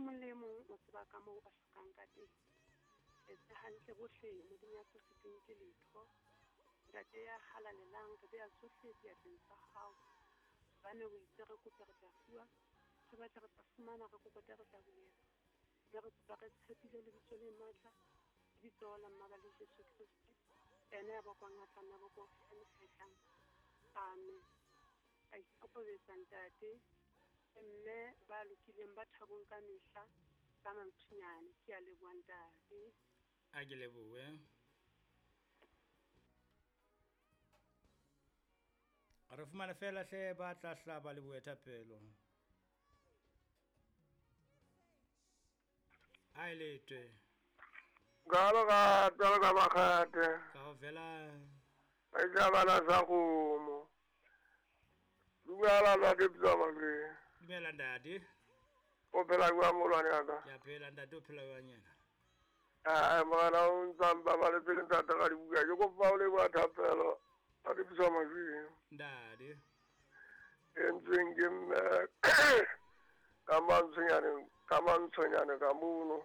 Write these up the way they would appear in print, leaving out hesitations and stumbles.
mong le e mong o tseba ka moo a hlokang ka teng. Etse hantle bohle, Modimo ya sa sitweng ke letho. Ntate ya halalelang, re bea tsohle diatleng tsa hao. Hobane o itse re kope re tla fuwa, re batle re tla fumana, re kokote re tla bulelwa. Mme re kopa re tshepile lebitso le matla, lebitso la mmaba le Jesu Kreste, ena ya bokwang a tla nna boko e tlang. Amen. A ikokobetsa ntate le mme ba lokileng ba thabong ka mehla ka mantshonyane. Ke a leboha ntate. A ke lebohe. Re fumane fela hle ba tla hlaba le boethapelo. A e letwe. Galo ka tswalo ka makgate. Kaofela. Ba tla bana sa kgomo. Dumela ntate Pitsa Makweng. Dumela ntate. O phela jwang molwane wa ka? Ke a phela ntate, o phela jwang yena? Ae morena o ntsa mpabaletse le ntate ka dibuka. Ke kopa o leboha thapelo ntate Pitsa Makweng. Ntate. Entsweng ke mme ka mantshonyane ka mantshonyane ka mono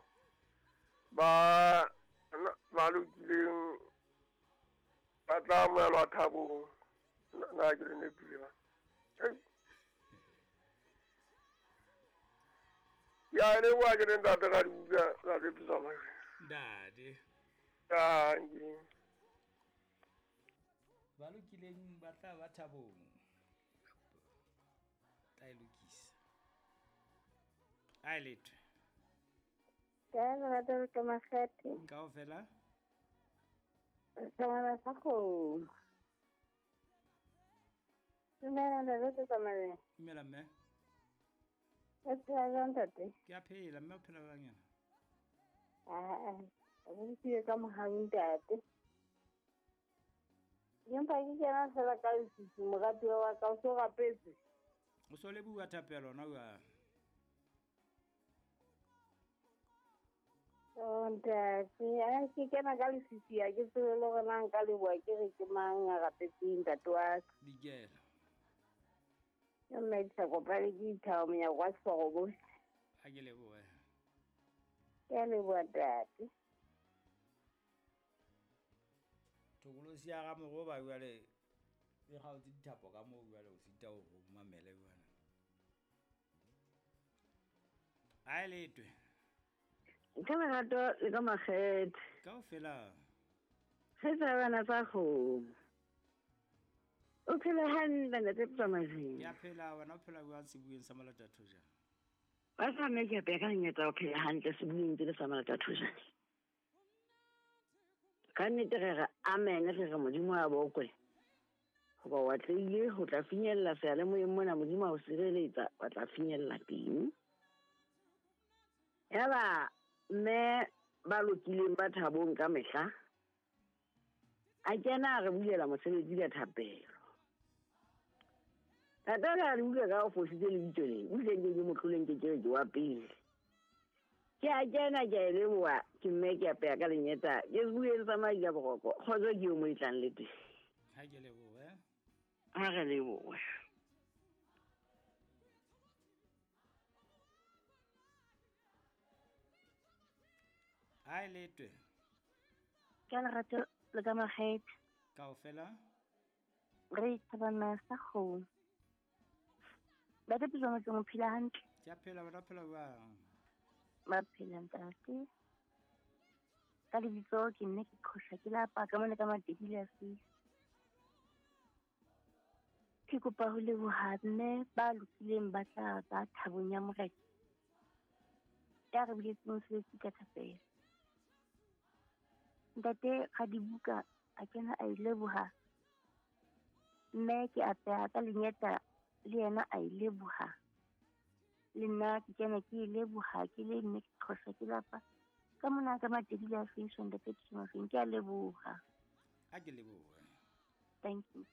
ba ba lokileng ba tla amohelwa thabong. Na ke le nepile ba? Ya leboha ke le ntate ka dibuka ntate Pitsa Makweng. Ntate. Dankie. Ba lokileng ba tla ba thabong. Tla e lokisa. A e letwe. Ka lerato le ka makgethe. Kaofela. Tsamaya sa kgomo. Dumela ntate ke tsamaya. Dumela mme. O phela jwang ntate? Ke a phela mme o phela jwang yena? Aa, o ntse ka mohau ntate. Empa ke kena fela ka lefifi moratuwa wa ka o so rapetse. O so leboha thapelo na jwang? Oh, ntate, a ke kena ka lefifi ha ke tsebe le hore na nka leboha ke re ke mang a rapetseng ntate wa ka. Dikela. Ke mme ke sa kopane ke ithao monyako wa seforobo. Ha ke lebohe. Ke a leboha ntate. Thokolosi ya ga mogoba jwale e kgaotse dithapo ka moo jwale o sita ho mamele jwale. A e letwe. Ka lerato le ka makgethe. Kaofela. Re tsa bana tsa kgomo. O phela hantle ntate Tsamazeng. Ke a phela wena o phela jwang sebueng sa Malata Thojane? Ba sa mme ke apeya ka lenyatsa ho phela hantle sebueng tsele sa Malata Thojane. Ka nnete re re amen re re Modimo a bokwe. Hoba o atlehile ho tla finyella seyalemoyeng mona Modimo a o sireletsa wa tla finyella teng. Yaba mme ba lokileng ba thabong ka mehla a kena a re bulela mosebetsi ka thapelo. Tata a re utlwa ka o fositse lebitso le, utlwe nke ke motloleng ke ke ke wa pele. Ke a kena ke a e leboha ke mme ke apeya ka lenyeta ke bueng sa madi ka boroko kgotso ke yo mo e tlang le teng. Ha ke lebohe. Ha re lebohe. A e letwe. Ka lerato le ka makgethe. Kaofela. Re thabana sa kgomo. Ntate Pitsa Makweng o phela hantle? Ke a phela wena o phela jwang? Ba phela ntate. Ka lebitso ke nne ke qhosha ke lapa ka mona ka Matebele a Sisi. Ke kopa ho leboha mme ba lokileng ba tla ba thabong ya Morena. Ya re buletseng mosebetsi ka thapelo. Ntate Radibuka a kena a e leboha. Mme ke apeha ka lenyeta le yena a e leboha. Le nna ke kena ke e leboha ke le mme ke qhosha ke lapa. Ka mona ka Matebele a Sisi ntate Pitsa Makweng ke a leboha. A ke lebohe. Thank you.